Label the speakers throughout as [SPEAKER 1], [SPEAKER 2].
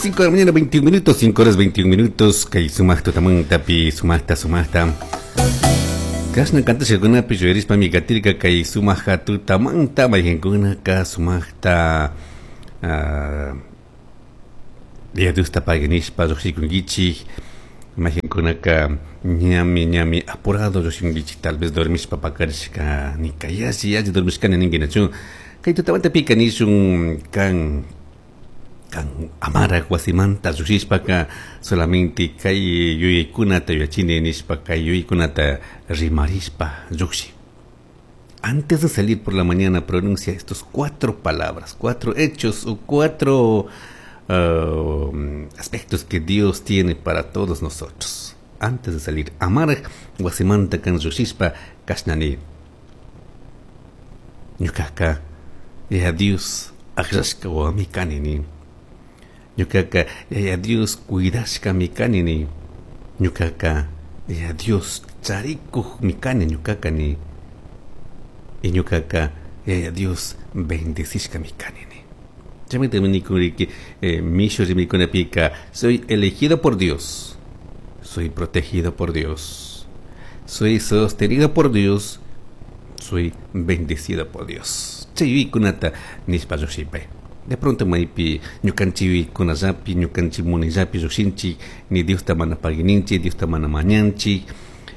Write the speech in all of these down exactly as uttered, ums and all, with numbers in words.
[SPEAKER 1] cinco de la mañana, veintiún minutos, cinco horas veintiún minutos. Kay sumaq tutamantapi, sumaqta, sumaqta. Kashna kantashkakunapi yuyarishpami katirka kay sumaq tutamanta mayqinkunaka sumaqta uh, Yaya Diosta paginishpa lluqshikunkichik, mayqinkunaka ñami ñami apurado lluqshinkichik, tal vez dormishpa pakarishka nika yalli yalli dormishkani ninkinachu. Kay tutamantapika nishun kan kan amaraq wasimanta lluqshishpaka solamente kay yuyaykunata yuyachini nishpa kay yuyaykunata rimarishpa lluqshi. Antes de salir por la mañana, pronuncia estos cuatro palabras, cuatro hechos o cuatro uh, aspectos que Dios tiene para todos nosotros. Antes de salir, amaraq wasimanta kan lluqshishpa kashnani. Ñuqaqa Yaya Dios aklashka wawami kani. Ñuqaqa Yaya Dios cuidashkami kani. Ñuqaqa Yaya Dios charikuqmi kani ñuqaqa ni. Y ñuqaqa Yaya Dios bendecishkami kani ni. Chaymanta nikunriki eh, mishu rimaykunapika, soy elegido por Dios, soy protegido por Dios, soy sostenido por Dios, soy bendecido por Dios. Chay yuyaykunata nishpa lluqshipay. De pronto maypi ñukanchik yuyaykunallapi, ñukanchik munayllapi lluqshinchik, ni Diosta mana paguininchik, Diosta mana mañanchik,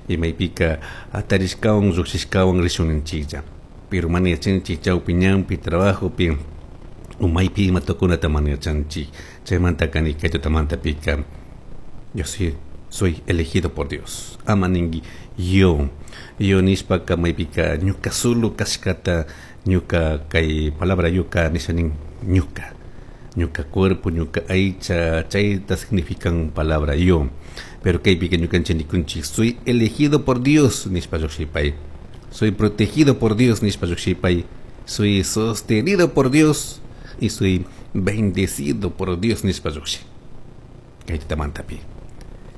[SPEAKER 1] y maypika atarishkawan lluqshishkawan rishunninchiklla. Pero mana yachanchik chawpi ñanpi, trabajopi, umaypi ima tukunata mana yachanchik. Chaymanta kani kay tutamantapika, yo soy, soy elegido por Dios. Ama ninki yo, yo nishpaka maypika ñuka solo kashkata, ñuka kay palabra ñuka nisha nin ñuka, ñuka cuerpo, ñuka aycha, chayta significan palabra yo. Pero kaypika ñukanchik nikunchik, soy elegido por Dios nishpa lluqshipay, soy protegido por Dios nishpa lluqshipay, soy sostenido por Dios y soy bendecido por Dios nishpa lluqshi. Kay tutamantapi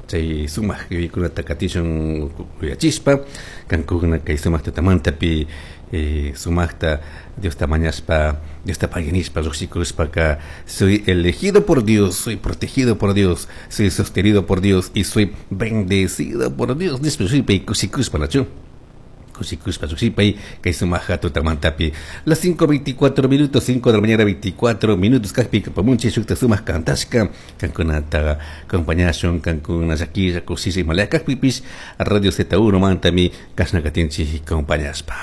[SPEAKER 1] chay sumaq yuyaykunata katishun yuyachishpa, kankuna kay sumaq tutamantapi eh, sumaqta Diosta mañashpa, Diosta paginishpa lluqshikushpaka, soy elegido por Dios, soy protegido por Dios, soy sostenido por Dios y soy bendecido por Dios nishpa lluqshipay kushikushpa, nachu. Kushikushpa lluqshipay kay sumaq tutamantapi. Las cinco veinticuatro minutos, cinco de la mañana veinticuatro minutos, kajpi kapamunchik shukta sumaq kantashka, kankunata acompañashun, kankuna llakilla kushisha imalaya kajpipish, Radio Z uno mantami kashna katinchik acompañashpa.